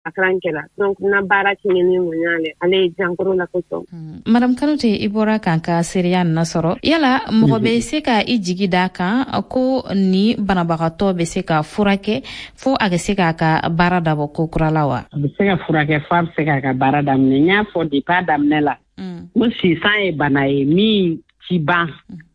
A karan kɛla donc na baara tiɲɛni ŋɔɲa le ale ye jankaro la kosɔn. Madame Kanute, i bɔra k'an ka seereya nin sɔrɔ. Yala mɔgɔ bɛ se ka i jigi da kan ko ni banabagatɔ bɛ se ka furakɛ fo a ka se k'a ka baara dabɔ ko kura la wa? A bɛ se ka furakɛ fo a bɛ se k'a ka baara daminɛ. N y'a fɔ depuis a daminɛ la, ko sinsan ye bana ye min ti ban.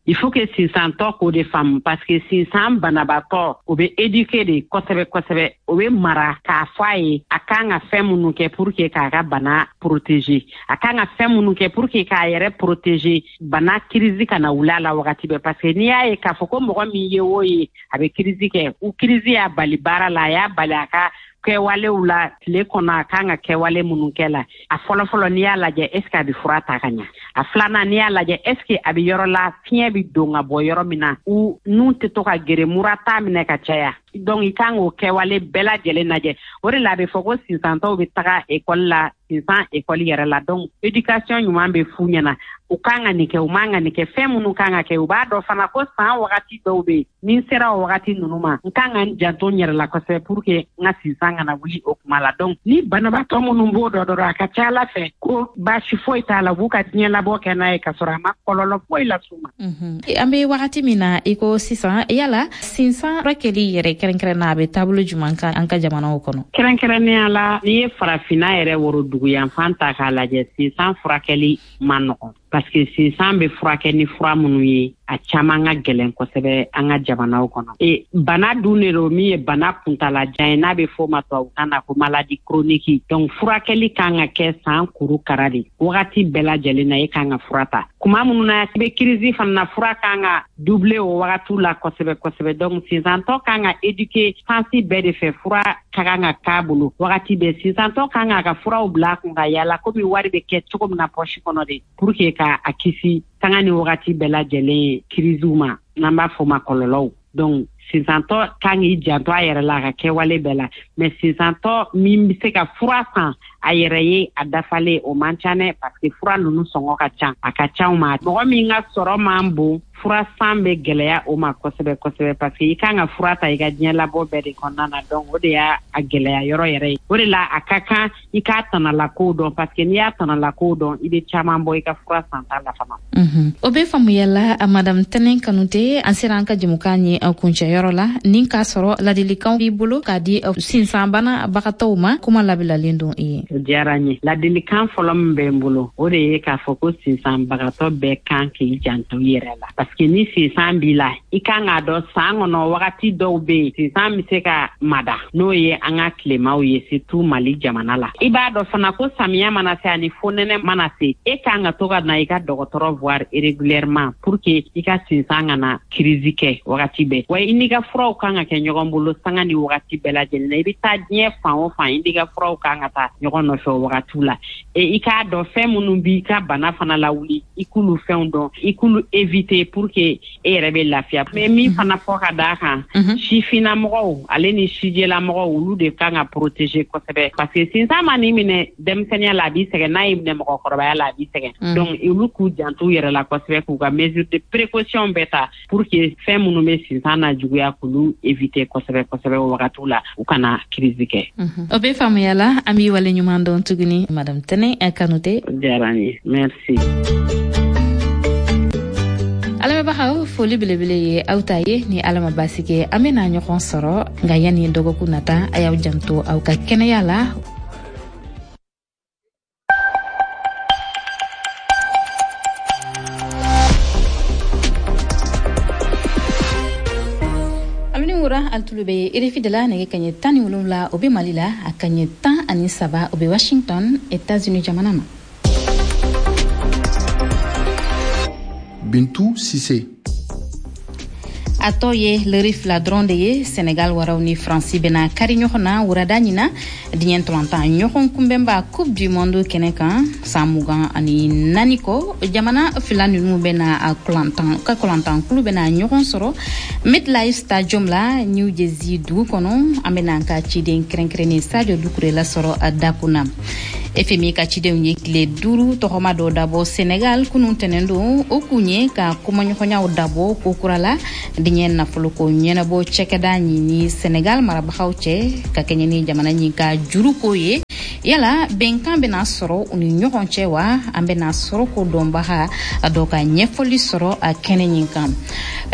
Il faut que sinsantɔ k'o de faamu, parce que sinsan banabaatɔ, o bɛ éduquer de kosɛbɛ kosɛbɛ. O bɛ mara k'a fɔ a ye a kan ka fɛn minnu kɛ pour que k'a ka bana protéger, a kan ka fɛn minnu kɛ pour que k'a yɛrɛ protéger bana crise kana wuli a la wagati bɛɛ. Parce que n'i y'a ye k'a fɔ ko mɔgɔ min ye o ye a bɛ crise kɛ, u crise y'a bali baara la, a y'a bali a ka kɛwalew la tile kɔnɔ, a kan ka kɛwale minnu kɛ la. A fɔlɔfɔlɔ, n'i y'a lajɛ, est ce que a bɛ fura ta ka ɲa? A filanan, n'i y'a lajɛ, est ce que a bɛ yɔrɔ la fiɲɛ bɛ don ka bɔ yɔrɔ min na, u nun tɛ to ka gere, mura t'a minɛ ka caya? Donc i kan k'o kɛwale bɛɛ lajɛlen lajɛ. O de la a bɛ fɔ ko sinsantɔw bɛ taga ekɔli la, sinsan ekɔli yɛrɛ la. Donc éducation ɲuman bɛ f'u ɲɛna, u kan ka nin kɛ, u man ka nin kɛ, fɛn minnu kan ka kɛ. U b'a dɔn fana ko san wagati dɔw bɛ yen, ni n sera o wagati ninnu ma, n kan ka n janto n yɛrɛ la kosɛbɛ pour que n ka sinsan kana wuli o kuma la. Donc ni banabaatɔ minnu b'o dɔn dɔrɔn, a ka ca ala fɛ ko baasi foyi t'a la, u b'u ka diɲɛ labɔ kɛ n'a ye ka sɔrɔ a ma kɔlɔlɔ foyi las'u ma. An bɛ wagati min na i ko sisan, yala sinsan furakɛli yɛrɛ kɛrɛnkɛrɛnna, a bɛ taabolo jumɛn kan an ka jamanaw kɔnɔ? Kɛrɛnkɛrɛnnenya la, n'i ye farafinna yɛrɛ woroduguyanfan ta k'a lajɛ, sinsan furakɛli man nɔgɔn, parce que sinsan bɛ furakɛ ni fura minnu ye, a caman ka gɛlɛn kosɛbɛ an ka jamanaw kɔnɔ. E bana dun de don min ye bana kuntalajan ye, n'a bɛ fɔ o ma tubabukan na ko maladie chronique. Donc furakɛli kan ka kɛ san kuru kara de, wagati bɛɛ lajɛlen na e kan ka fura ta. Kuma minnu na i bɛ crise fana na, fura kan ka doubler o wagatiw la kosɛbɛ kosɛbɛ. Donc sinsantɔ kan ka éduquer sens bɛɛ de fɛ, fura ka kan ka k'a bolo wagati bɛɛ. Sinsantɔ kan k'a ka furaw bila a kun ka yala komi wari bɛ kɛ cogo min na poche kɔnɔ de, pour que ka a kisi sanga ni wagati bɛɛ lajɛlen kirisiw ma, n'an b'a fɔ ma kɔlɔlɔw. Donc sinsantɔ kan k'i janto a yɛrɛ la a ka kɛwale bɛɛ la. Mais sinsantɔ min bɛ se ka fura san a yɛrɛ ye a dafalen, o man ca dɛ, parce que fura ninnu sɔngɔ ka ca, a ka ca ma. Mɔgɔ min ka sɔrɔ man bon, fura san bɛ gɛlɛya o ma kosɛbɛ kosɛbɛ, parce que i kan ka fura ta i ka diɲɛ labɔ bɛɛ de kɔnɔna na. Donc o de y'a a gɛlɛya yɔrɔ yɛrɛ ye. O de la a ka kan i k'a tanalakow dɔn, parce que n'i y'a tanalakow dɔn, i bɛ caman bɔ i ka fura santa la fana. O bɛ faamuya la, Madame Tɛnɛ Kanute. An sera an ka jɛmukan ye kuncɛyɔrɔ la. Ni k'a sɔrɔ ladilikanw b'i bolo k'a di sinsanbana bagatɔw ma, kuma labilalen don i ye. O diyara n ye. Ladilikan fɔlɔ min bɛ n bolo, o de ye k'a fɔ ko sinsanbagatɔ bɛɛ kan k'i janto i yɛrɛ la, parce que ni sinsan b'i la, i kan k'a dɔn san kɔnɔ wagati dɔw bɛ yen, sinsan bɛ se ka mada, n'o ye an ka tilemaw ye, surtout Mali jamana la. I b'a dɔn fana ko samiya mana se ani fonɛnɛ mana se, e kan ka to ka na i ka dɔgɔtɔrɔ voir régulièrement pour que i ka sinsan kana crise kɛ wagati bɛɛ. Wa i n'i ka furaw kan ka kɛ ɲɔgɔn bolo sanga ni wagati bɛɛ lajɛlen na. I bɛ taa diɲɛ fan o fan, i n'i ka furaw kan ka taa ɲɔgɔn nɔfɛ o wagatiw la. E i k'a dɔn fɛn minnu b'i ka bana fana lawuli, i k'olu fɛnw dɔn, i k'olu éviter pour que e yɛrɛ bɛ lafiya. Mais min fana fɔ ka d'a kan, sifinnamɔgɔw ale ni sijɛlamɔgɔw, olu de kan ka protéger kosɛbɛ, parce que sinsan ma n'i minɛ denmisɛnninya la, a b'i sɛgɛn. N'a y'i minɛ mɔgɔkɔrɔbaya la, a b'i sɛgɛn. Donc olu k'u janto u yɛrɛ la kosɛbɛ, k'u ka mesure de précaution bɛɛ ta pour que fɛn minnu bɛ sinsan na juguya, k'olu éviter kosɛbɛ kosɛbɛ o wagatiw la, u kana crise kɛ. O bɛ faamuya la. An b'i wale ɲuman dɔn tuguni, Madame Tɛnɛ Kanute. O diyara n ye, merci. Alamɛnbagaw, foli belebele ye aw ta ye. Ni Ala ma baasi kɛ, an bɛna ɲɔgɔn sɔrɔ, nka yanni dɔgɔkun nata, a y'aw janto aw ka kɛnɛya la. Wura alitulu bɛ RFI de la. Nɛgɛ kaɲɛ 17, o bɛ Mali la, a kaɲɛ 13, o bɛ Washington, États-Unis jamana na. Bintu Sise. A tɔ ye lɛri 2 dɔrɔn de ye, Senegal waraw ni Faransi bɛna kari ɲɔgɔn na wurada ɲina diɲɛ ntolantan ɲɔgɔn kunbɛnba Coupe du Monde kɛnɛ kan. San 24 kɔ, jamana fila ninnu bɛna a kulantan ka kulantan kulu bɛna ɲɔgɔn sɔrɔ MetLife Stadium la, New Jersey dugu kɔnɔ. An bɛna an ka ciden kɛrɛnkɛrɛnnen Sadio Dukure lasɔrɔ a dakun na. FMI ka cidenw ye tile 5 tɔgɔma dɔ dabɔ Senegal kunun tɛnɛn don. O kun ye ka kumaɲɔgɔnyaw dabɔ ko kura la diɲɛ nafoloko ɲɛnabɔ cɛkɛda ɲini Senegal marabagaw cɛ, ka kɛɲɛ ni jamana ɲin ka juruko ye. Yala bɛnkan bɛna sɔrɔ u ni ɲɔgɔn cɛ wa? An bɛna sɔrɔ ko dɔnbaga dɔ ka ɲɛfɔli sɔrɔ a kɛnɛ ɲin kan.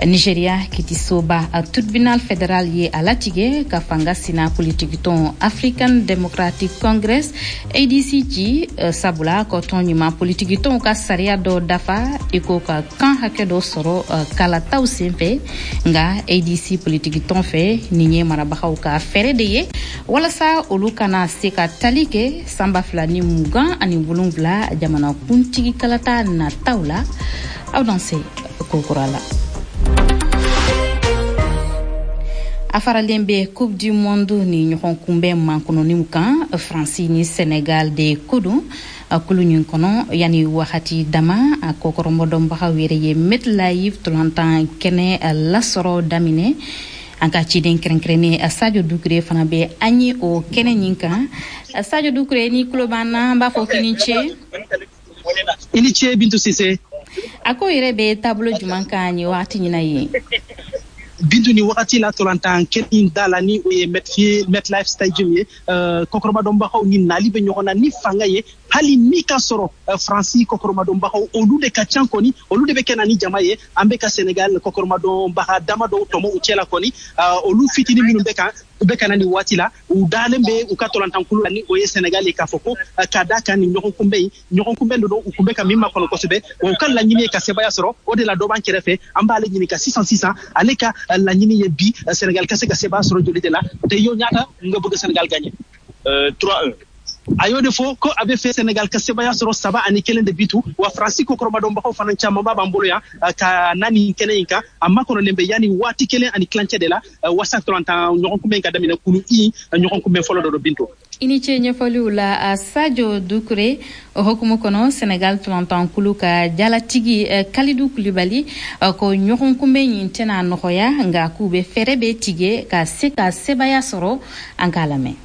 Nigeria kitisoba a tribunal fédéral ye a latigɛ ka fanga sina politikitɔn African Democratic Congress ADC ci, sabula ko tɔn ɲuman politikitɔnw ka sariya dɔ dafa, i ko ka kan hakɛ dɔ sɔrɔ kalataw senfɛ. Nka ADC politikitɔn fɛ, nin ye marabagaw ka fɛɛrɛ de ye walasa olu kana se ka tali kɛ san 2027 jamana kuntigi kalata nataw la. Aw danse kokura la. A faralen bɛ Coupe du Monde ni ɲɔgɔn kunbɛn mankɔnɔniw kan, Faransi ni Senegal de ko don kulu ɲin kɔnɔ. Yanni wagati dama, a kɔkɔrɔmɔdɔnbagaw yɛrɛ ye MetLife tolantan kɛnɛ lasɔrɔ daminɛ. An ka ciden kɛrɛnkɛrɛnnen Sadio Dukure fana bɛ an ye o kɛnɛ ɲin kan. Sadio Dukure, ni tulo b'an na, an b'a fɔ k'i ni ce. I ni ce, Bintu Sise. A ko yɛrɛ bɛ taabolo jumɛn kan nin wagati ɲina ye? Bintu, ni wagati la, tolantan kɛnɛ da la ni o ye MetLife Stadium ye, kɔkɔrɔmadɔnbagaw ni nali bɛ ɲɔgɔn na ni fanga ye, hali ni ka sɔrɔ Faransi kɔkɔrɔmadɔnbagaw olu de ka ca kɔni, olu de bɛ kɛ na ni jama ye. An bɛ ka Senegal kɔkɔrɔmadɔnbaga dama dɔw tɔmɔ u cɛ la kɔni. Olu fitinin minnu bɛ kan, u bɛ ka na nin waati la, u dalen bɛ u ka tolantankulu la ni o ye Senegal ye, k'a fɔ ko ka da kan nin ɲɔgɔn kunbɛn in, ɲɔgɔn kunbɛn don u kun bɛ ka min makɔnɔ kosɛbɛ, wa u ka laɲini ye ka sebaya sɔrɔ. O de la, dɔ b'an kɛrɛfɛ, an b'ale ɲininka sisan sisan, ale ka laɲini ye bi Sénégal ka se ka sebaya sɔrɔ joli de la. Te yow ñaata nga bëgg Sénégal gagné? 3-1. A y'o de fɔ ko a bɛ fɛ Sénégal ka sebaya sɔrɔ 3-1 de bitu. Wa Faransi ko kɔrɔmadɔnbagaw fana camanba b'an bolo yan ka na nin kɛnɛ in kan. A makɔnɔlen bɛ yanni waati kelen ani tilancɛ de la wasa tolantan ɲɔgɔn kunbɛn ka daminɛ, kulu i ɲɔgɔn kunbɛn fɔlɔ dɔ don, Bintu. I ni ce ɲɛfɔliw la, Sadio Dukure. O hukumu kɔnɔ, Senegal tolantankulu ka jalatigi Kalidu Kulibali ko ɲɔgɔn kunbɛn ɲin tɛna nɔgɔya, nka k'u bɛ fɛɛrɛ bɛ tigɛ ka se ka sebaya sɔrɔ. An k'a lamɛn.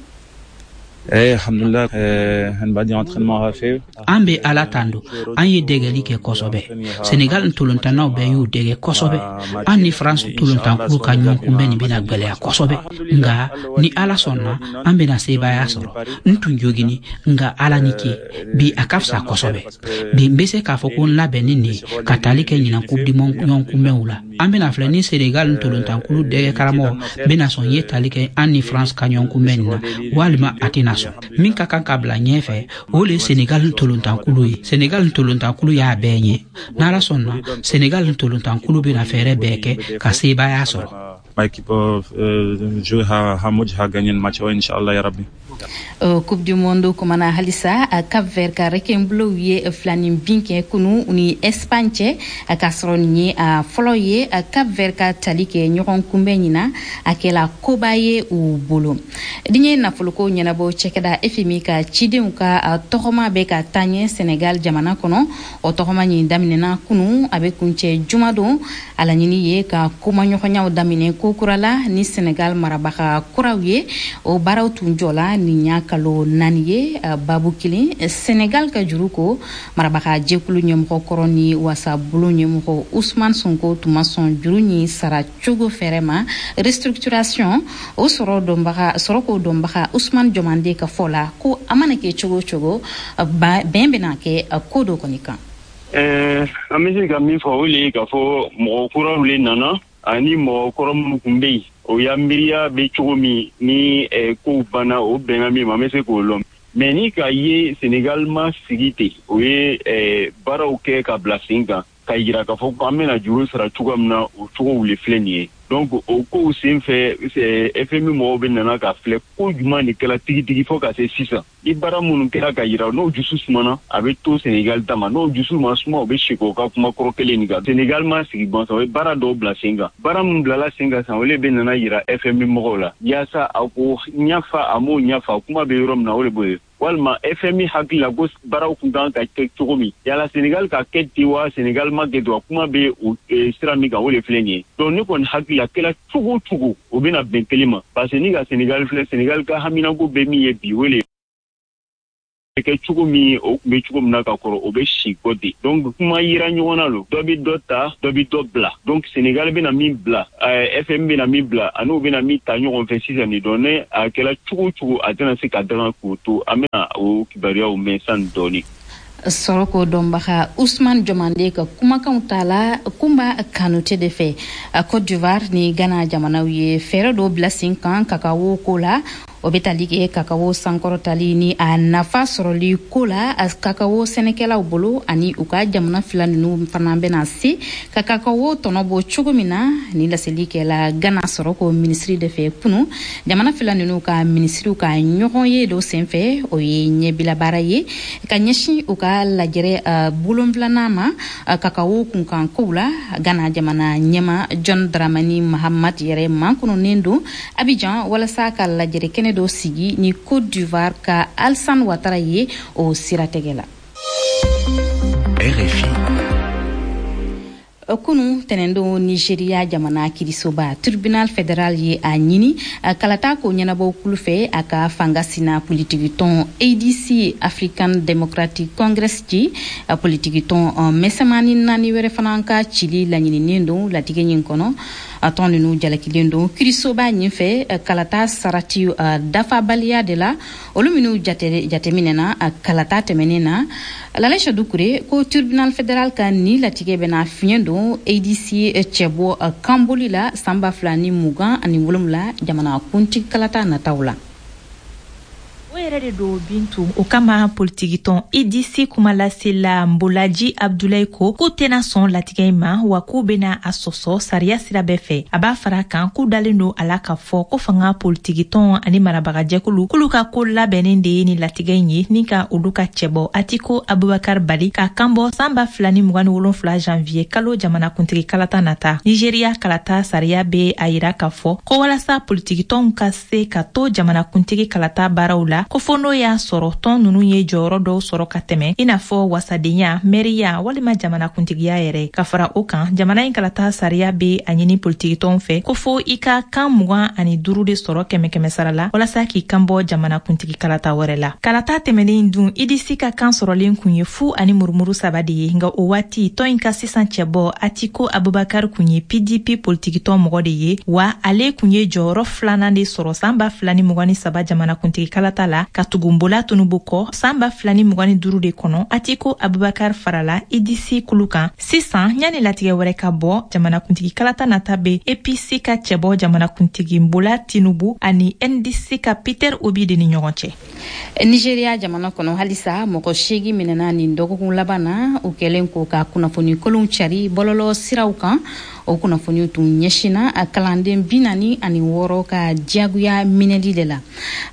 Eh, alhamdulillah, an bɛ Ala tando, an ye dɛgɛli kɛ kosɛbɛ. Senegal ntolontannaw bɛɛ y'u dɛgɛ kosɛbɛ. An ni France tolontankulu ka ɲɔgɔn kunbɛn nin bɛna gwɛlɛya kosɛbɛ, nka ni Ala sɔnna, an bɛna sebaaya sɔrɔ. N tun jogini, nka Ala ni ke, bi a ka fisa kosɛbɛ. Bi n bɛ se k'a fɔ ko n labɛnni nin ka tali kɛ ɲinan Coupe du Monde ɲɔgɔn kunbɛnw la. An bɛna filɛ ni Senegal ntolontankulu dɛgɛ karamɔgɔ bɛna sɔn ye tali kɛ an ni France ka ɲɔgɔn kunbɛn nin na, walima a tɛna sɔn. Min ka kan ka bila ɲɛfɛ, o le Senegal ntolontankulu ye. Senegal ntolontankulu y'a bɛɛ ɲɛ. N'Ala sɔnna, Senegal ntolontankulu bɛna fɛɛrɛ bɛɛ kɛ ka sebaaya sɔrɔ. Équipe jouer ha ha gagner le match, inchallah ya rabbi. Coupe du Monde kumana halisa, Cap Vert ka requin-bleu ye filanin bin kɛ kunu ni Espagne cɛ, k'a sɔrɔ nin ye a fɔlɔ ye Cap Vert ka tali kɛ ɲɔgɔn kunbɛn ɲina. A kɛla koba ye u bolo. Diɲɛ nafoloko ɲɛnabɔ cɛkɛda FMI ka cidenw ka tɔgɔma bɛ ka taa ɲɛ Senegal jamana kɔnɔ. O tɔgɔma ɲin daminɛna kunu, a bɛ kuncɛ jumadon. A laɲini ye ka kumaɲɔgɔnyaw daminɛ ko kura la ni Senegal marabaga kuraw ye. O baaraw tun jɔla nin y'a kalo 4 ye, babu kelen, Senegal ka juru ko. Marabaga jɛkulu ɲɛmɔgɔ kɔrɔ ni wasabulon ɲɛmɔgɔ Usman Sonko tun ma sɔn juru ɲin sara cogo fɛɛrɛ ma, restructuration. O sɔrɔ dɔnbaga, sɔrɔ ko dɔnbaga Usman Jɔmande ka fɔ la, ko a mana kɛ cogo o cogo, bɛn bɛna kɛ ko dɔ kɔni kan. An bɛ se ka min fɔ, o le ye k'a fɔ mɔgɔ kuraw le nana ani mɔgɔ kɔrɔ minnu tun bɛ yen, o ya miiriya bɛ cogo min ni kow banna, o bɛnna min ma, an bɛ se k'o lɔn. Mais ni k'a ye Senegal ma sigi ten, o ye baaraw kɛ ka bila sen kan ka yira k'a fɔ ko an bɛna juru sara cogoya min na, o cogow le filɛ nin ye. Donc o kow sen fɛ, FMI mɔgɔw bɛ nana ka filɛ ko jumɛn de kɛra tigitigi fo ka se sisan. Ni baara minnu kɛra ka yira n'o dusu sumana, a bɛ to Senegal ta ma. N'o dusu ma suma, o bɛ segin o ka kuma kɔrɔ kelen nin kan. Senegal ma sigi gansan, o ye baara dɔw bila sen kan. Baara min bilala sen kan sisan, o de bɛ nana yira FMI mɔgɔw la yaasa a ko ɲafa a m'o ɲafa, kuma bɛ yɔrɔ min na, o de b'o ye. Walima FMI hakili la ko baaraw kun kan ka kɛ cogo min, yala Senegal ka kɛ ten wa, Senegal ma kɛ ten wa, kuma bɛ o sira min kan, o de filɛ nin ye. Donc ne kɔni hakili la, kɛra cogo o cogo, o bɛna bɛn kelen ma, parce que ni ka Senegal filɛ, Senegal ka haminanko bɛ min ye bi, o de Kɛ cogo min, o tun bɛ cogo min na ka kɔrɔ, o bɛ si kɔ de. Donc kuma yira ɲɔgɔn na lo, dɔ bɛ dɔ ta, dɔ bɛ dɔ bila. Donc Sénégal bɛna min bila, FMI bɛna min bila, ani u bɛna min ta ɲɔgɔn fɛ sisan nin dɔn ne, a kɛra cogo o cogo, a tɛna se ka daga k'o to. An bɛna o kibaruyaw mɛn sani dɔɔni. Sɔrɔko dɔnbaga Usman Jɔmande ka kumakanw ta la Kunba Kanute de fɛ. Cote d'Ivoire ni Ghana jamanaw ye fɛɛrɛ dɔw bila sen kan kakawo ko la. O bɛ tali kɛ kakawo sankɔrɔtali ni a nafa sɔrɔli ko la kakawo sɛnɛkɛlaw bolo, ani u ka jamana fila ninnu fana bɛna se ka kakawo tɔnɔ bɔ cogo min na. Ni laseli kɛla Ghana sɔrɔko minisiri de fɛ kunu, jamana fila ninnu ka minisiriw ka ɲɔgɔn ye dɔ senfɛ. O ye ɲɛbila baara ye ka ɲɛsin u ka lajɛrɛ bolonfilanan ma kakawo kunkan kow la. Ghana jamana ɲɛma John Dramani Mahama yɛrɛ mankɔnɔnen don Abidjan walasa ka lajɛrɛ kɛnɛ dɔ sigi ni Côte d'Ivoire ka Alassane Ouattara ye o siratigɛ la. RFI. Kunu tɛnɛndon, Nigeria jamana kirisoba Tribunal fédéral ye a ɲini kalata ko ɲɛnabɔ kulu fɛ, a ka fanga sina politikitɔn ADC, African Democratic Congress, ci. Politikitɔn mɛsɛmani naani wɛrɛ fana ka cili laɲininen don latigɛ ɲin kɔnɔ. Tɔn ninnu jalakilen don kirisoba ɲin fɛ kalata sarati dafabaliya de la, olu minnu jateminɛna kalata tɛmɛnen na. Lalɛsa Dukure ko tribunal fédéral ka ni latigɛ bɛna fiɲɛ don ADC cɛbɔ kanboli la san 2027 jamana kuntigi kalata nataw la. O yɛrɛ de don, Bintu. O kama, politikitɔn ADC kumalasela Nbolaji Abdulayi ko k'u tɛna sɔn latigɛ in ma, wa k'u bena a sɔsɔ sariya sira bɛɛ fɛ. A b'a fara kan k'u dalen don a la k'a fɔ ko fanga politikitɔn ani marabagajɛkulu k'olu ka ko labɛnnen de ye ni latigɛ in ye, ni ka olu ka cɛbɔ Atiko Abubakar bali k'a kanbɔ san 2027 janvier kalo jamanakuntigi kalata nata. Nigeriya kalata sariya be a yira k'a fɔ ko walasa politikitɔnw ka se ka to jamanakuntigi kalata baaraw la, ko fo n'o y'a sɔrɔ tɔn nunu ye jɔyɔrɔ dɔw sɔrɔ ka tɛmɛ, i n'a fɔ wasadenya, mɛriya walima jamanakuntigiya yɛrɛ. Ka fara o kan, jamana in kalata sariya be a ɲini politikitɔnw fɛ ko fo i ka kan 25 de sɔrɔ kɛmɛ kɛmɛ sara la walasa k'i kan bɔ jamanakuntigi kalata wɛrɛ la. Kalata tɛmɛnen dun, ADC ka kan sɔrɔlen kun ye fu ani murumuru saba de ye, nka o waati tɔn in ka sisan cɛbɔ Atiko Abubakar kun ye PDP politikitɔn mɔgɔ de ye, wa ale kun ye jɔyɔrɔ filanan de sɔrɔ san 2023 jamanakuntigi kalata la, ka tugu Bola Tinubu kɔ. San 2025 de kɔnɔ, Atiko Abubakar farala ADC kulu kan. Sisan, yanni latigɛ wɛrɛ ka bɔ, jamanakuntigi kalata nata be APC ka cɛbɔ jamanakuntigi Bola Tinubu ani NDC ka Peter Obi de ni ɲɔgɔn cɛ. Nigeria jamana kɔnɔ halisa, mɔgɔ 8 minɛna nin dɔgɔkun laban na, u kɛlen ko ka kunnafoni kolonw cari bɔlɔlɔ siraw kan. O kunnafoniw tun ɲɛsinna kalanden 46 ka diyagoya minɛli de la.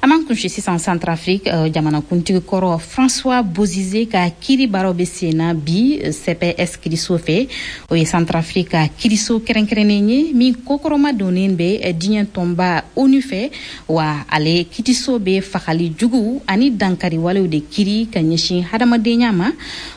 An b'an kunsi sisan Centrafrique. Jamanakuntigi kɔrɔ François Bozize ka kiri baaraw bɛ sen na bi CPS kiriso fɛ. O ye Centrafrique ka kiriso kɛrɛnkɛrɛnnen ye min kokɔrɔma donnen bɛ diɲɛ tɔnba ONU fɛ, wa ale kitiso bɛ fagali jugu ani dankariwalew de kiri ka ɲɛsin hadamadenya ma.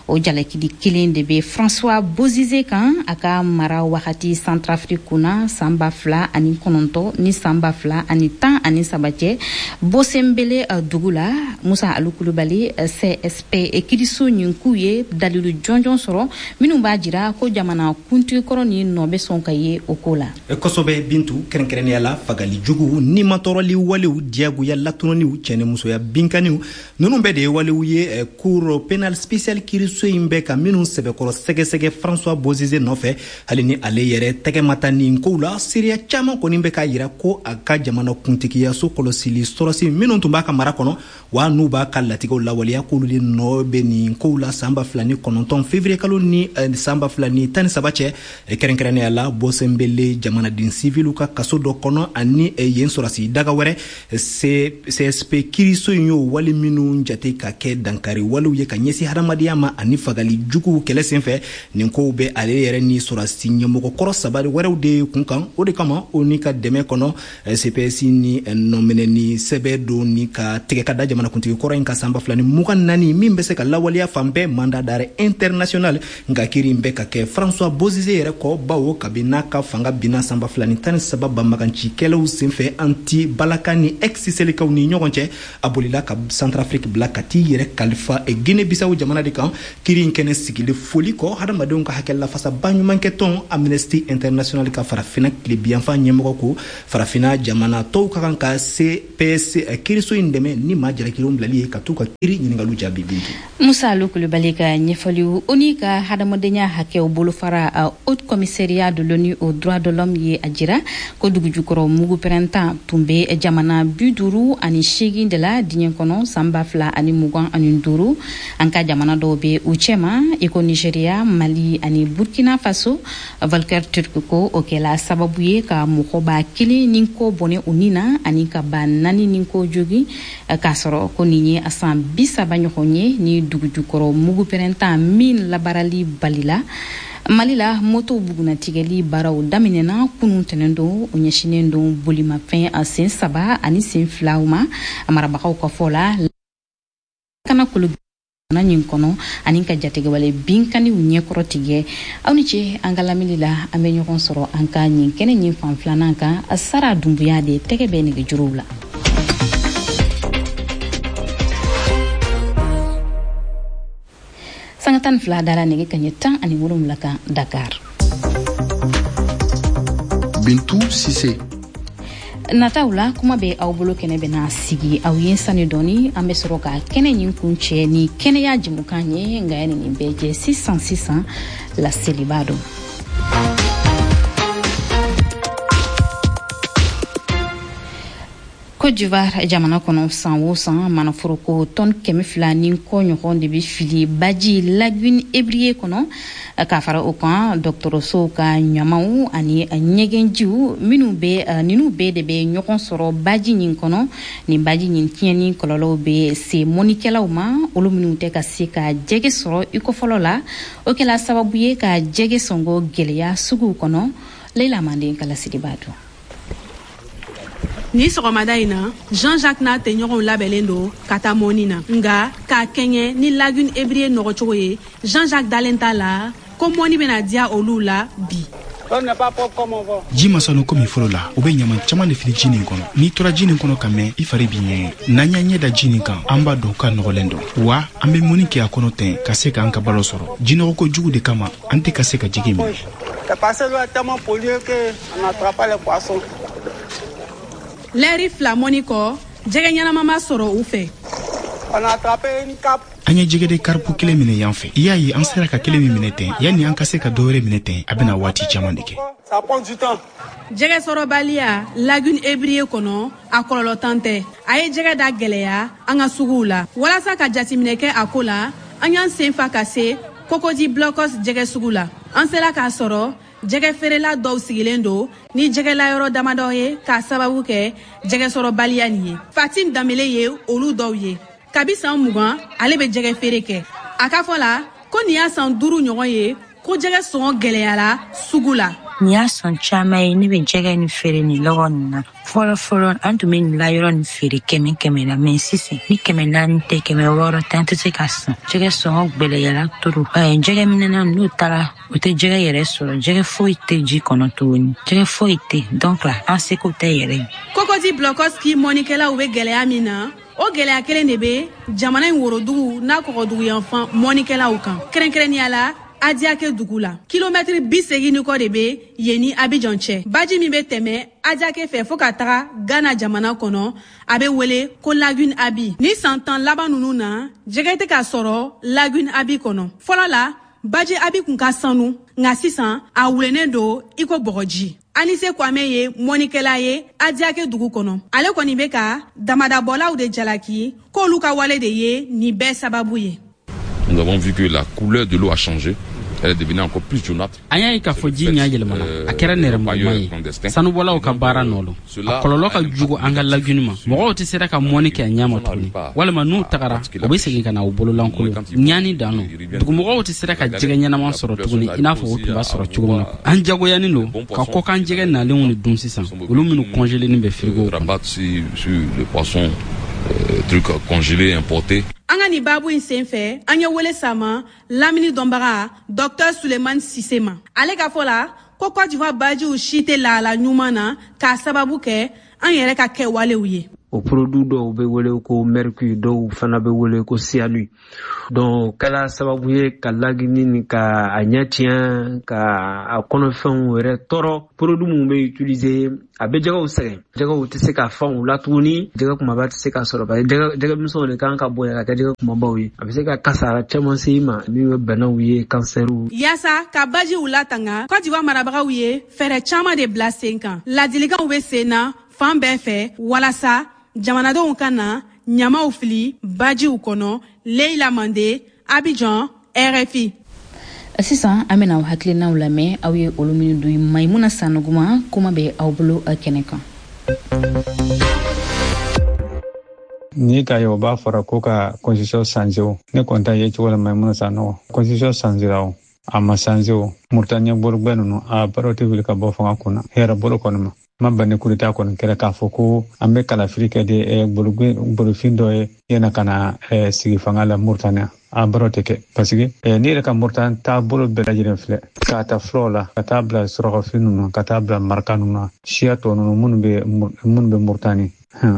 O jalakili kelen de bɛ François Bozize kan a ka mara wagati Centrafrique kunna san 2009 ni san 2013 cɛ, Bosenbele dugu la. Musa Alu Kulubali, CSP kiriso ɲin k'u ye dalilu jɔnjɔn sɔrɔ minnu b'a jira ko jamana kuntigi kɔrɔ ni nɔ bɛ sɔn ka ye o ko la. Kosɛbɛ, Bintu. Kɛrɛnkɛrɛnnenya la, fagali jugu, nimatɔrɔli walew, diyagoya latununiw, cɛnimusoya binkaniw, ninnu bɛɛ de ye walew ye Cour pénale spéciale kiriso in bɛ ka minnu sɛbɛkɔrɔ sɛgɛsɛgɛ François Bozize nɔfɛ. Hali ni ale yɛrɛ tɛgɛ ma ta nin kow la, seereya caman kɔni bɛ k'a yira ko a ka jamana kuntigiyaso kɔlɔsili sɔrɔsi minnu tun b'a ka mara kɔnɔ, wa n'u b'a ka latigɛw lawaleya, k'olu de nɔ bɛ nin kow la san 2009 février kalo ni san 2013 cɛ, kɛrɛnkɛrɛnnenya la Bɔsɛnbele jamanaden siviliw ka kaso dɔ kɔnɔ ani yen sɔrɔsi daga wɛrɛ. CSP kiriso in y'o wale minnu jate ka kɛ dankari walew ye ka ɲɛsin hadamadenya ma ani fagali juguw kɛlɛ senfɛ, nin kow bɛ ale yɛrɛ ni sɔrɔsi ɲɛmɔgɔ kɔrɔ. kɔrɔ saba wɛrɛw de kun kan. O de kama, ONU ka dɛmɛ kɔnɔ, CPS ni nɔminɛni sɛbɛn don ni ka tigɛ ka da jamanakuntigi kɔrɔ in ka san 2024, min bɛ se ka lawaleya fan bɛɛ, mandat d'arrêt international. Nka kiiri in bɛ ka kɛ François Bozizé yɛrɛ kɔ, bawo kabi n'a ka fanga binna san 2013 banbagancikɛlaw senfɛ anti balaka ni ex Selekaw ni ɲɔgɔn cɛ, a bolila ka Centrafrique bila ka t'i yɛrɛ kalifa Guinée Bissau jamana de kan. Kiiri in kɛnɛ sigili foli kɔ, hadamadenw ka hakɛ lafasa baɲumankɛtɔn Amnesty International ka Farafina tilebiyanfan ɲɛmɔgɔ ko Farafina jamana tɔw ka kan ka CPS kiiriso in dɛmɛ ni maa jalakilenw bilali ye ka t'u ka kiiri ɲiningaliw jaabi. Bintu. Musa Alu Kulubali ka ɲɛfɔliw. ONU ka hadamadenya hakɛw bolofara, Haut Commissariat de l'ONU aux droits de l'homme, ye a jira ko dugujukɔrɔ mugu pɛrɛntan tun bɛ jamana 58 de la diɲɛ kɔnɔ san 2025. An ka jamana dɔw bɛ u cɛma, i ko Nigéria, Mali ani Burkina Faso. Volker Turk ko o kɛla sababu ye ka mɔgɔ 1000 ni kɔ bɔnɛ u ni na ani ka 4000 ni kɔ jogi, k'a sɔrɔ ko nin ye a san 30 ɲɔgɔn ye ni dugujukɔrɔ mugu pɛrɛntan min labaarali balila. Mali la, moto bugunatigɛli baaraw daminɛna kunun tɛnɛn don. O ɲɛsinnen don bolimafɛn a sen saba ani sen filaw ma. A marabagaw ka fɔ la, kana kolo ɲin kɔnɔ ani ka jatigɛwale binkaniw ɲɛkɔrɔ tigɛ. Aw ni ce an ka lamini la. An bɛ ɲɔgɔn sɔrɔ an ka ɲin kɛnɛ ɲin fan filanan kan. Sara Dunbuya de tɛgɛ bɛ nɛgɛjuruw la. Sanga 12 dara nɛgɛ kaɲɛ 17 kan Dakar. Bintu Sise. Nataw la, kuma bɛ aw bolo kɛnɛ bɛna sigi aw ye sani dɔɔni. An bɛ sɔrɔ ka kɛnɛ ɲin kun cɛ ni kɛnɛya jɛmukan ye. Nka yanni nin bɛɛ jɛ, sisan sisan laseliba don. Côte d'Ivoire jamana kɔnɔ, san o san, manaforoko tɔn 200 ni kɔ ɲɔgɔn de bɛ fili baji Lagune Ébrié kɔnɔ. K'a fara o kan, dɔgɔtɔrɔsow ka ɲamaw ani ɲɛgɛnjiw minnu bɛ, ninnu bɛɛ de bɛ ɲɔgɔn sɔrɔ baji nin kɔnɔ. Nin baji nin tiɲɛni kɔlɔlɔw bɛ se mɔnikɛlaw ma, olu minnu tɛ ka se ka jɛgɛ sɔrɔ i ko fɔlɔ la. O kɛla sababu ye ka jɛgɛ sɔngɔ gɛlɛya suguw kɔnɔ. Leila Manden ka laseliba don. Ni sɔgɔmada in na, Jean-Jacques n'a tɛɲɔgɔnw labɛnlen don ka taa mɔni na. Nga k'a kɛɲɛ ni Lagune Ébrié nɔgɔcogo ye, Jean-Jacques dalen t'a la ko mɔni bɛna diya olu la bi. Ji ma sanu komi fɔlɔ la. U bɛ ɲaman caman de fili ji nin kɔnɔ. N'i tora ji nin kɔnɔ ka mɛn, i fari b'i ɲɛgɛn. N'an y'an ɲɛ da ji nin kan, an b'a dɔn k'a nɔgɔlen don wa. An bɛ mɔni kɛ a kɔnɔ ten ka se k'an ka balo sɔrɔ. Jinɔgɔko jugu de kama, an tɛ ka se ka jigi minɛ. Lɛri 2 mɔni kɔ, jɛgɛ ɲɛnama ma sɔrɔ u fɛ. An ye jɛgɛden karipu kelen minɛ yan fɛ. I y'a ye, an sera ka kelen min minɛ ten, yanni an ka se ka dɔwɛrɛ minɛ ten, a bɛna waati caman de kɛ. Jɛgɛ sɔrɔbaliya Lagune Ébrié kɔnɔ, a kɔlɔlɔ tan tɛ. A ye jɛgɛ da gɛlɛya an ka suguw la. Walasa ka jateminɛ kɛ a ko la, an y'an sen fa ka se Cocody Blocos jɛgɛ sugu la. An sera k'a sɔrɔ jɛgɛ feerela dɔw sigilen don ni jɛgɛlayɔrɔ damadɔ ye, k'a sababu kɛ jɛgɛ sɔrɔbaliya nin ye. Fatim Danbele ye olu dɔw ye. Kabi san 20, ale bɛ jɛgɛ feere kɛ. A ka fɔ la ko nin y'a san 5 ɲɔgɔn ye ko jɛgɛ sɔngɔ gɛlɛyara sugu la. Nin y'a san caman ye ne bɛ jɛgɛ nin feere nin lɔgɔ nin na. Fɔlɔ fɔlɔ, an tun bɛ nin layɔrɔ nin feere 100 100 la, mɛ sisan ni 400 tɛ, 600 tɛ, an tɛ se ka san. Jɛgɛ sɔngɔ gwɛlɛyara trop. Jɛgɛ minɛna n'u taara, u tɛ jɛgɛ yɛrɛ sɔrɔ. Jɛgɛ foyi tɛ ji kɔnɔ tuguni, jɛgɛ foyi tɛ, donc la an seko tɛ yɛrɛ. Cocody Blocos ki mɔnikɛlaw bɛ gɛlɛya min na, o gɛlɛya kelen de bɛ jamana in worodugu n'a kɔgɔdugu yanfan mɔnikɛlaw kan, kɛrɛnkɛrɛnnenya la Adiake dugu la. Kilomɛtiri 80 ni kɔ de bɛ yen ni Abidjan cɛ. Baji min bɛ tɛmɛ Adiake fɛ fo ka taga Ghana jamana kɔnɔ, a bɛ wele ko Lagune Abi. Ni san 10 laban ninnu na, jɛgɛ tɛ ka sɔrɔ Lagune Abi kɔnɔ. Fɔlɔ la, baji Abi kun ka sanu, nka sisan a wulennen don i ko bɔgɔji. Anise Kwame ye mɔnikɛla ye Adiake dugu kɔnɔ. Ale kɔni bɛ ka damadabɔlaw de jalaki k'olu ka wale de ye nin bɛɛ sababu ye. Nous avons vu que la couleur de l'eau a changé. Elle est devenue encore plus jaunâtre. An y'a ye k'a fɔ ji ɲa yɛlɛmana, a kɛra nɛrɛmuguma ye. Sanubɔlaw ka baara nɔ lo. A kɔlɔlɔ ka jugu an ka laguni ma. Mɔgɔw tɛ sera ka mɔni kɛ a ɲɛ ma tuguni, walima n'u tagara, u bɛ segin ka na u bololankolon. Ɲani dan lo. Dugumɔgɔw tɛ sera ka jɛgɛ ɲɛnama sɔrɔ tuguni i n'a fɔ u tun b'a sɔrɔ cogo min na. An jagoyanin lo ka kɔkan jɛgɛ nalenw de dun sisan, olu minnu kɔnjelenin bɛ firigow kɔnɔ. Truc congelé importé. An ka nin baabu in sen fɛ, an ye wele sama lamini dɔnbaga Dr Sulemani Sise ma. Ale ka fɔ la ko Cote d'Ivoire bajiw si tɛ lahala ɲuman na k'a sababu kɛ an yɛrɛ ka kɛwalew ye. O produit dɔw bɛ wele ko mercure, dɔw fana bɛ wele ko cyanure. Donc kɛla sababu ye ka lagini ni ka a ɲɛ tiɲɛ, ka a kɔnɔfɛnw yɛrɛ tɔɔrɔ. Produit minnu bɛ utiliser, a bɛ jɛgɛw sɛgɛn. Jɛgɛw tɛ se ka fan u la tuguni, jɛgɛ kumaba tɛ se ka sɔrɔ, parce que jɛgɛ misɛnw de kan ka bonya ka kɛ jɛgɛ kumabaw ye. A bɛ se ka kasara caman se i ma, min bɛ banaw ye, kansɛriw. Yaasa ka bajiw latanga, Cote d'Ivoire marabagaw ye fɛɛrɛ caman de bila sen kan. Ladilikanw bɛ sen na fan bɛɛ fɛ walasa jamanadenw ka na ɲamaw fili bajiw kɔnɔ. Leila Mande, Abidjan, RFI. Sisan an bɛna aw hakilinaw lamɛn, aw ye olu minnu dun. Maimuna Sanuguma, kuma bɛ aw bolo kɛnɛ kan. Ni k'a ye o b'a fɔra ko ka constitution changer o, ne kɔni ta ye cogo la, Maimuna Sanogo, constitution changera o, a ma changer o, Mauritanie bolobɛ ninnu a baaraw tɛ wuli ka bɔ fanga kunna hɛrɛ bolo kɔni ma. Ma ban ni coup d'état kɔni kɛra k'a fɔ ko an bɛ kalafili kɛ de bolofin dɔ ye yana ka na sigi fanga la Mauritanie, a baaraw tɛ kɛ, parce que n'i yɛrɛ ka Mauritanie taabolo bɛɛ lajɛlen filɛ, k'a ta fulaw la ka taa bila surakafi ninnu, ka taa bila maraka ninnu na, siya tɔ ninnu minnu bɛ Mauritanie,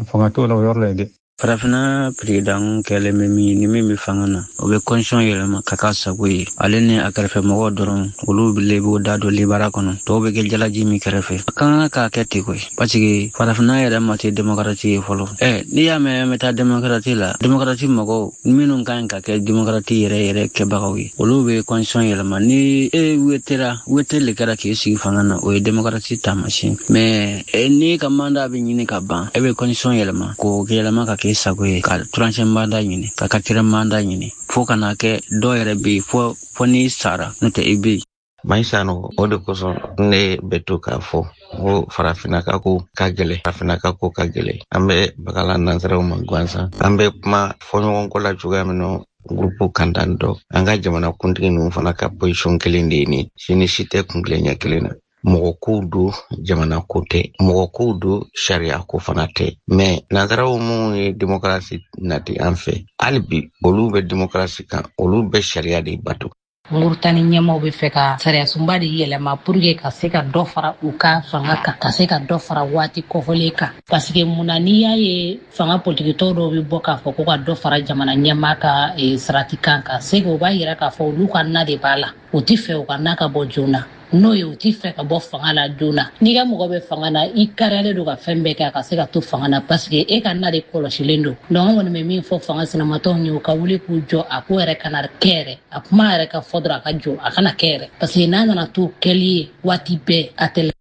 fanga t'o la o yɔrɔ la yen dɛ. Farafinna président kɛlen bɛ min ni min bɛ fanga na, o bɛ constitution yɛlɛma ka k'a sago ye. Ale ni a kɛrɛfɛ mɔgɔw dɔrɔn, olu le b'o da don libara kɔnɔ, tɔw bɛ kɛ jalaji min kɛrɛfɛ. A kan k'a kɛ ten koyi, parce que farafinna yɛrɛ ma se démocratie ye fɔlɔ. N'i y'a mɛn an bɛ taa démocratie la, démocratie mɔgɔw minnu ka ɲi ka kɛ démocratie yɛrɛ yɛrɛ kɛbagaw ye, olu bɛ constitution yɛlɛma. Ni e wetera, wete le kɛra k'i sigi fanga na, o ye démocratie taamasiyɛn. Mais n'i ka mandat bɛ ɲini ka ban, e bɛ constitution yɛlɛma k'o yɛlɛma ka kɛ sago ye, ka troisième mandat ɲini, ka quatrième mandat ɲini, fo ka na kɛ dɔw yɛrɛ bɛ yen fo n'i sara, n'o tɛ i bɛ yen. Maïsano, o de kosɔn ne bɛ to k'a fɔ ko farafinna ka ko ka gɛlɛn, farafinna ka ko ka gɛlɛn. An bɛ bagala nansaraw ma gansan, an bɛ kuma fɔɲɔgɔnkɔ la cogoya min na, groupe kan tan dɔ. An ka jamana kuntigi ninnu fana ka position kelen de ye nin, si ni si tɛ kun kelen ɲɛ kelen na. Mɔgɔ kow don, jamana ko tɛ, mɔgɔ kow don, sariya ko fana tɛ. Mais nansaraw minnu ye démocratie nati an fɛ, hali bi olu bɛ démocratie kan, olu bɛ sariya de bato. Mauritanie ɲɛmaw bɛ fɛ ka sariyasunba de yɛlɛma pour que ka se ka dɔ fara u ka fanga kan, ka se ka dɔ fara waati kɔfɔlen kan, parce que mun na n'i y'a ye fanga politikitɔw dɔw bɛ bɔ k'a fɔ ko ka dɔ fara jamana ɲɛmaa ka sarati kan, ka se o b'a yira k'a fɔ olu ka na de b'a la, u ti fɛ u ka na ka bɔ joona, n'o ye u ti fɛ ka bɔ fanga la joona. N'i ka mɔgɔ bɛ fanga na, i kariyalen don ka fɛn bɛɛ kɛ a ka se ka to fanga na, parce que e ka na de kɔlɔsilen don. Donc an kɔni bɛ min fɔ fanga sinamatɔw ye, u ka wuli k'u jɔ, a ko yɛrɛ kana kɛ yɛrɛ, a kuma yɛrɛ ka fɔ dɔrɔn a ka jɔ, a kana kɛ yɛrɛ, parce que n'a nana to kɛli ye waati bɛɛ, a tɛ.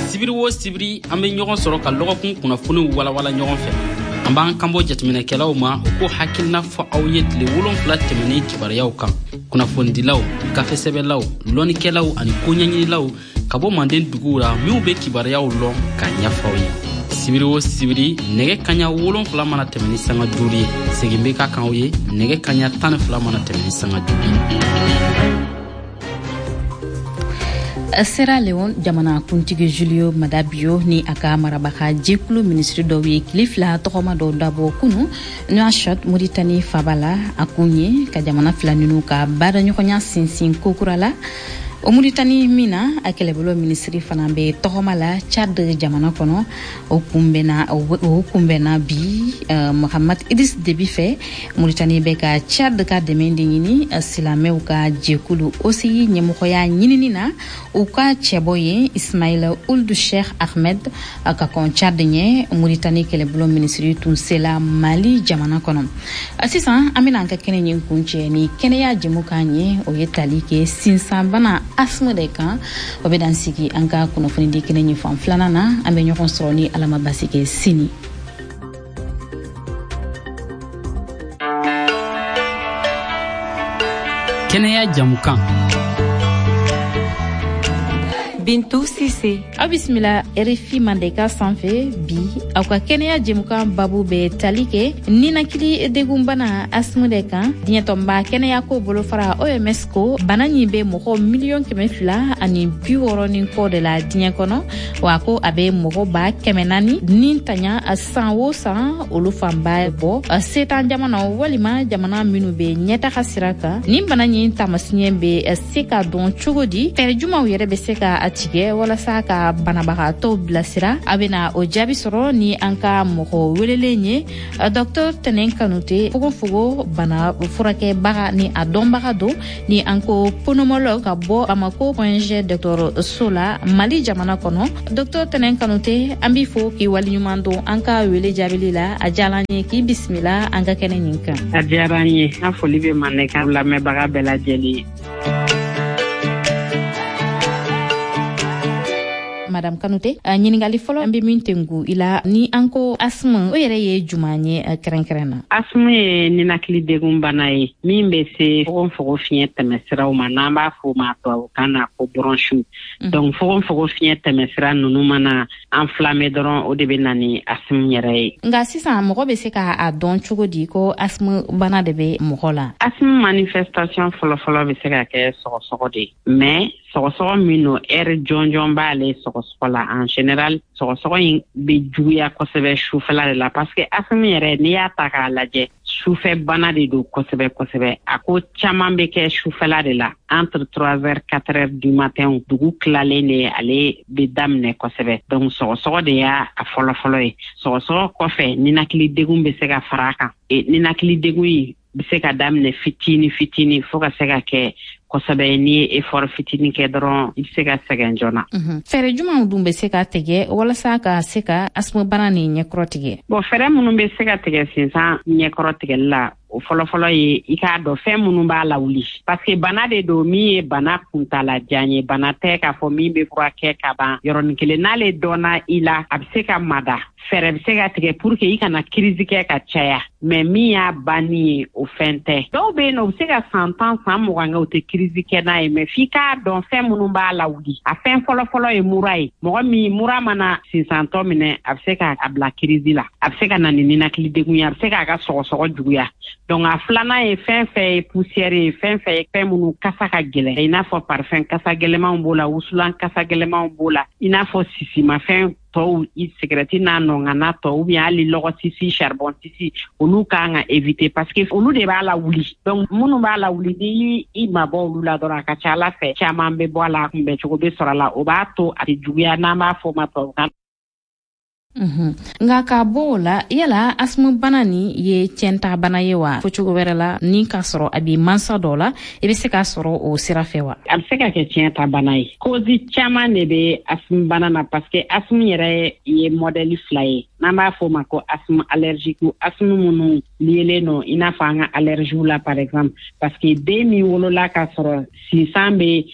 Sibiri o sibiri, an bɛ ɲɔgɔn sɔrɔ ka lɔgɔkun kunnafoniw walawala ɲɔgɔn fɛ. An b'an kanbɔ jateminɛkɛlaw ma, u k'o hakilina fɔ aw ye tile 7 tɛmɛnen kibaruyaw kan. Kunnafonidilaw, gafesɛbɛlaw, lɔnnikɛlaw ani koɲɛɲinilaw ka bɔ manden duguw la, minw bɛ kibaruyaw lɔn k'a ɲɛfɔ aw ye. Sibiri o sibiri, nɛgɛ kaɲa 7 mana tɛmɛ ni sanga 5 ye, segin bɛ ka kan aw ye nɛgɛ kaɲa 12 mana tɛmɛ ni sanga 5 ye. Sierra Leone jamana kuntigi Julio Maada Bio ni a ka marabaga jɛkulu minisiri dɔw ye tile 2 tɔgɔma dɔw dabɔ kunu Nouakchott, Mauritanie faba la. A kun ye ka jamana fila ninnu ka baaraɲɔgɔnya sinsin kokura la. O Mauritanie min na, a kɛlɛbolo minisiri fana bɛ tɔgɔma la Tchad jamana kɔnɔ. O kunbɛnna bi Mohamed Idriss Déby fɛ. Mauritanie bɛ ka Tchad ka dɛmɛ de ɲini silamɛw ka jɛkulu OCI ɲɛmɔgɔya ɲinini na. U ka cɛbɔ ye Ismail Ould Cheikh Ahmed ka kɔn Tchad ɲɛ, Mauritanie kɛlɛbolo minisiri tun sela Mali jamana kɔnɔ. Sisan an bɛna an ka kɛnɛ ɲin kuncɛ ni kɛnɛya jɛmukan ye, o ye tali kɛ sinsanbana asthme de kan. O bɛ dan sigi an ka kunnafoni di kɛnɛ ɲin fan filanan na. An bɛ ɲɔgɔn sɔrɔ ni Ala ma basi kɛ sini. Kɛnɛya jɛmukan. Bintu Sise. Aw bisimila RFI Mandenkan sanfɛ. Bi, aw ka kɛnɛya jɛmukan babu bɛ tali kɛ ninakili degunbana asthme de kan. Diɲɛ tɔnba kɛnɛyako bolofara OMS ko bana ɲin bɛ mɔgɔ 260 000 ni kɔ de la diɲɛ kɔnɔ, wa ko a bɛ mɔgɔ 400 000 ni tanya san o san, olu fanba bɔ setan jamanaw walima jamana minnu bɛ ɲɛtaga sira kan. Nin bana ɲin taamasiɲɛ bɛ se ka dɔn cogo di? Fɛɛrɛ jumanw yɛrɛ bɛ se ka tigɛ walasa ka banabagatɔw bilasira? A bena o jaabi sɔrɔ ni an ka mɔgɔ welelen ye, Dɔktɔr Tɛnɛn Kanute, fogofogo bana furakɛbaga ni a dɔnbaga don, ni an ko pneumologue, ka bɔ Bamako Point G dɔgɔtɔrɔso la, Mali jamana kɔnɔ. Dɔktɔr Tɛnɛn Kanute, an b'i fo k'i waleɲuman don an ka wele jaabili la. A diyala an ye k'i bisimila an ka kɛnɛ nin kan. A diyara an ye. An foli bɛ Mandenkan lamɛnbaga bɛɛ lajɛlen ye. Madame Kanute, ɲiningali fɔlɔ an be min tengu i la, ni an ko asthme, o yɛrɛ ye juman ye kɛrɛnkɛrɛn na? Asthme ye ninakili degun bana ye min bɛ se fogofogo fiɲɛ tɛmɛsiraw ma, n'an b'a fɔ ma tubabukan na ko bronches. Donc fogofogo fiɲɛ tɛmɛsira ninnu mana enflammé dɔrɔn, o de bɛ na ni asthme yɛrɛ ye. Nka sisan, mɔgɔ bɛ se ka a dɔn cogo di ko asthme bana de bɛ mɔgɔ la? Asthme manifestation fɔlɔfɔlɔ bɛ se ka kɛ sɔgɔsɔgɔ de ye, mais sɔgɔsɔgɔ min don, heure jɔnjɔn b'ale sɔgɔsɔgɔ la. En général, sɔgɔsɔgɔ in bɛ juguya kosɛbɛ sufɛla de la, parce que asthme yɛrɛ, n'i y'a ta k'a lajɛ, sufɛ bana de don kosɛbɛ kosɛbɛ. A ko caman bɛ kɛ sufɛla de la, entre 3 heures 4 heures du matin, dugu tilalen de ale bɛ daminɛ kosɛbɛ. Donc sɔgɔsɔgɔ de y'a a fɔlɔfɔlɔ ye. Sɔgɔsɔgɔ kɔfɛ, ninakili degun bɛ se ka fara a kan. Ninakili degun in bɛ se ka daminɛ fitini fitini fo ka se ka kɛ kosɛbɛ. N'i ye effort fitini kɛ dɔrɔn, i bɛ se ka sɛgɛn joona. Fɛɛrɛ jumanw dun bɛ se ka tigɛ walasa ka se ka asthme bana nin ɲɛkɔrɔ tigɛ? Bon, fɛɛrɛ minnu bɛ se ka tigɛ sinsan ɲɛkɔrɔ tigɛli la, o fɔlɔfɔlɔ ye i k'a dɔn fɛn minnu b'a lawuli, parce que bana de don min ye bana kuntalajan ye. Bana tɛ k'a fɔ min bɛ furakɛ ka ban yɔrɔnin kelen. N'ale dɔnna i la, a bɛ se ka mada, fɛɛrɛ bɛ se ka tigɛ pour que i kana crise kɛ ka caya. Mais min y'a banni ye, o fɛn tɛ. Dɔw bɛ yen nɔ, u bɛ se ka san 10, san 20 kɛ, u tɛ crise kɛ n'a ye. Mais f'i k'a dɔn fɛn minnu b'a lawuli. A fɛn fɔlɔfɔlɔ ye mura ye. Mɔgɔ min mura mana sinsantɔ minɛ, a bɛ se k'a bila crise la, a bɛ se ka na ni ninakili degun ye, a bɛ se k'a ka sɔgɔsɔgɔ juguya. Donc a filanan ye fɛn fɛn ye poussière ye, fɛn fɛn ye fɛn minnu kasa ka gɛlɛn, i n'a fɔ parfum kasa gɛlɛmanw b'o la, wusulan kasa gɛlɛmanw b'o la, i n'a fɔ sisimafɛn tɔw, i sigɛrɛti n'a nɔngana tɔ, ou bien hali lɔgɔ sisi, charbon sisi, olu kan ka éviter parce que olu de b'a lawuli. Donc minnu b'a lawuli, ni i mabɔ olu la dɔrɔn, a ka ca Ala fɛ caman bɛ bɔ a la, kunbɛncogo bɛ sɔrɔ a la, o b'a to a tɛ juguya, n'an b'a fɔ o ma tubabukan. Nka k'a bɔ o la, yala asthme bana nin ye tiɲɛta bana ye wa? Fɔ cogo wɛrɛ la, ni k'a sɔrɔ a bi mansa dɔ la, i bɛ se k'a sɔrɔ o sira fɛ wa? A bɛ se ka kɛ tiɲɛta bana ye. Cause caman de bɛ asthme bana na, parce que asthme yɛrɛ ye modèle fila ye, n'an b'a fɔ o ma ko asthme allergique, asthme minnu liélen don i n'a fɔ an ka allergie la par exemple, parce que den min wolola k'a sɔrɔ sinsan bɛ